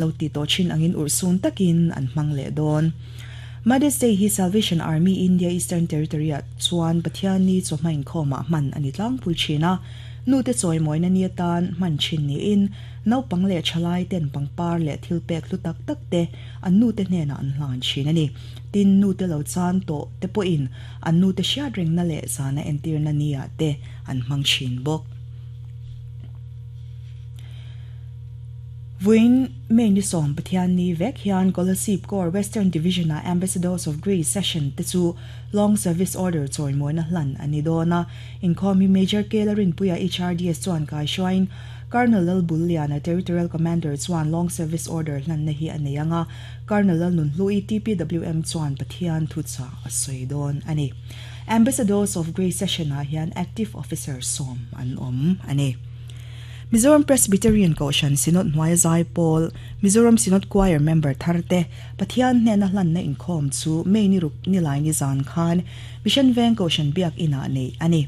Lo ti tawh thin angin urhsun takin an hmang leh dawn. Mother's Day hi Salvation Army India Eastern Territory-ah chuan Pathianni chawhma inkhawmah hman a ni tlangpui thin a. Nute chawimawina ni atan hman thin niin naupang leh thalai ten pangpar leh thil pek hlu tak tak te an nute hnenah an hlan thin a ni. Tin, nute lo chan tawh te pawhin an nute hriat rengna leh zana entirna ni-ah te an hmang thin bawk. Vawiin May ni sawm Pathianni vek hian Kolasib Corps Western Division-a Ambassadors of Grace Session te chu Long Service Order chawimawina hlan a ni dawn a. Inkhawm hi Major K Larinpuia HRDS chuan kaihruaiin Colonel Lalbulliana Territorial Commander chuan Long Service Order hlanna hi a nei ang a, Colonel Lalnunhlui TPWM chuan Pathian thuchah a sawi dawn a ni. Ambassadors of Grace Session-ah hian Active Officer sawm an awm a ni. Mizoram Presbyterian Kohhran Synod hnuaia zai pawl, Mizoram Synod Choir member thar te Pathian hnena hlanna inkhawm chu May ni ruk nilai ni zan khan Mission Veng Kohhran Biak Inah neih a ni.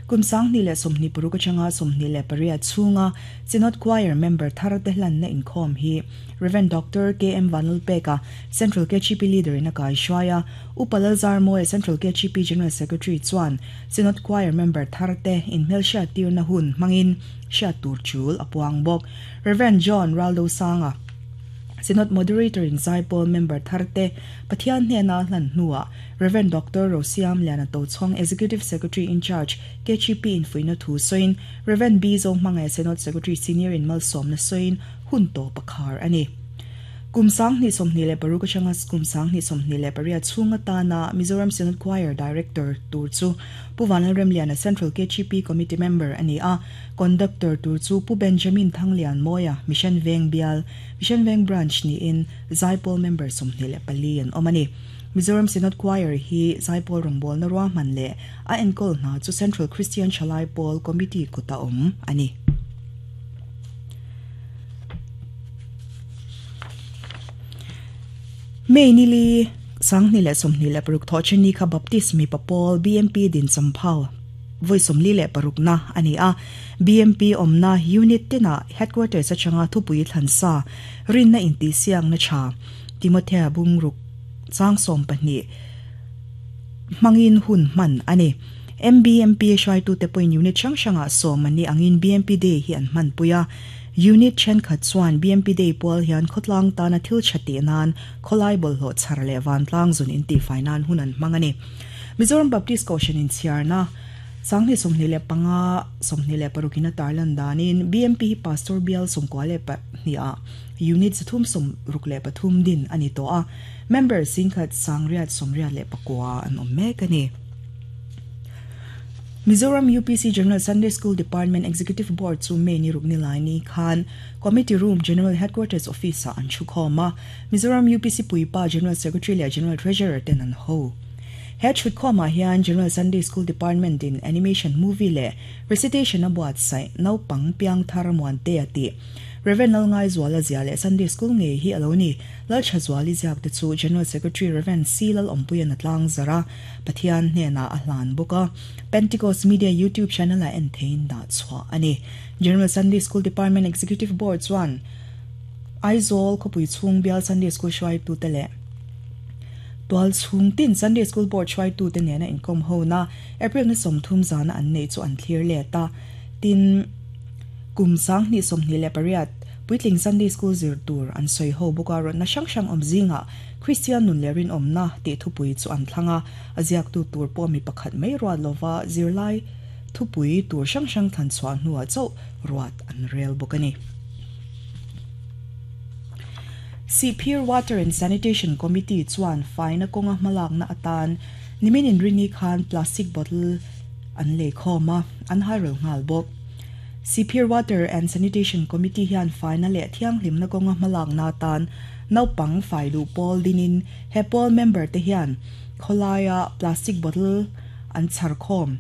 Kum 2026 atanga 28 chhunga Synod Choir member thar te hlanna inkhawm hi Rev. Doctor KM Vanlalpeka, Central KHP Leader in a kaihruai a, Upa Lalzarmawia Central KHP General Secretary chuan Synod Choir member thar te inhmelhriat tirna hun hmangin hriat tur chul a puang bawk. Rev. John Raldosanga, Synod Moderator in Zaipawl member thar te Pathian hnena a hlan hnuah Rev. Doctor Rosiam Liana Tochhawng Executive Secretary in Charge KHP in fuihna thu sawiin Rev. B Zohmangaia Synod Secretary Senior in malsawmna sawiin hun tawp a khar a ni. Kum 2026 atanga kum 2028 chhung atana Mizoram Synod Choir Director tur chu Pu Vanlalremliana Central KHP Committee Member a ni a, Conductor tur chu Pu Benjamin Thanglianmawia, Mission Veng Bial, Mission Veng Branch niin Zaipawl Member 24 an awm a ni. Mizoram Synod Choir hi Zaipawl rawngbawlna ruahman leh a enkawl hna chu Central Christian Thalai Pawl Committee kuta awm a ni. May nili 2026 thawhchheni kha Baptist mipa pawl BMP din champhau vawi 46 na a ni a. BMP awmna unit tinah headquarters atanga thupui thlansa rinna intihsiakna tha Timothea bungruk chang 12 hmangin hun hman a ni. MBMP hruaitute pawhin unit hrang hrangah sawm an nih angin BMP Day hi an hmanpui a. Unit thenkhat chuan BMP Day pual hian khawtlang tana thil tha tih nan khawlai bawlhhlawh chhar leh vantlang zun intihfai nan hun an hmang a ni. Mizoram Baptist Kohhran inchhiarna 2025, 26 in a tarlan danin BMP hi Pastor Bial 92 ah Unit 363 din a ni tawh a, member singkhat 889 an awm mek a ni. Mizoram UPC General Sunday School Department Executive Board chu May ni ruk ni lai ni khan Committee Room General Headquarters Office ah an thu khawm a, Mizoram UPC Puipa General Secretary leh General Treasurer ten an ho. He thutkhawm ah hian General Sunday School Department in Animation Movie leh Recitation a buatsaih naupang piangthar Muantea tih Rev Lalngaizuala zia leh Sunday School ngei hi a lo ni. Lalthazuali ziak te chu General Secretary Rev C Lalawmpuian a tlangzarh a. Pathian hnenah a hlan bawk a, Pentecost Media YouTube channel-ah en theiin dah chhuah a ni. General Sunday School Department Executive Board chuan Aizawl khawpui chhung bial Sunday School hruaitute leh tual chhung tin Sunday School Board hruaitute nena inkawm hona April ni 30 zana an neih chu an thlir let a. Tin, kum 2028 puitling Sunday School zir tur an sawi ho bawk a, rawtna hrang hrang awm zingah Kristian nun leh rinawmna tih thupui chu an thlang a, a ziaktu tur pawh mi pakhat mai ruat lova zirlai thupui tur hrang hrang thlan chhuah hnuah chauh ruat an rel bawk a ni. Sihphir Water and Sanitation Committee chuan faina kawnga hmalakna atan nimin inrini khan plastic bottle an lei khawm a, an hairel nghal bawk. Sihphir Water and Sanitation Committee hian faina leh thianghlimna kawnga hmalakna atan Naupang fai duh pawl dinin he pawl member te hian khawlaia plastic bottle an chhar khawm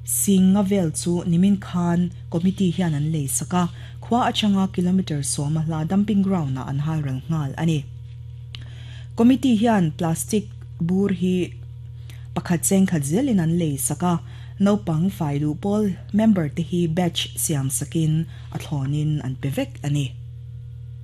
Singa vel chu nimin khan committee hian an lei sak a, khua atanga kilometre 10 a hla dumping ground ah an hal ral nghal a ni. Committee hian plastic bur hi pakhat cheng khat zelin an lei sak a, naupang fai duh pawl member te hi batch siam sakin a thlawnin an pe vek a ni.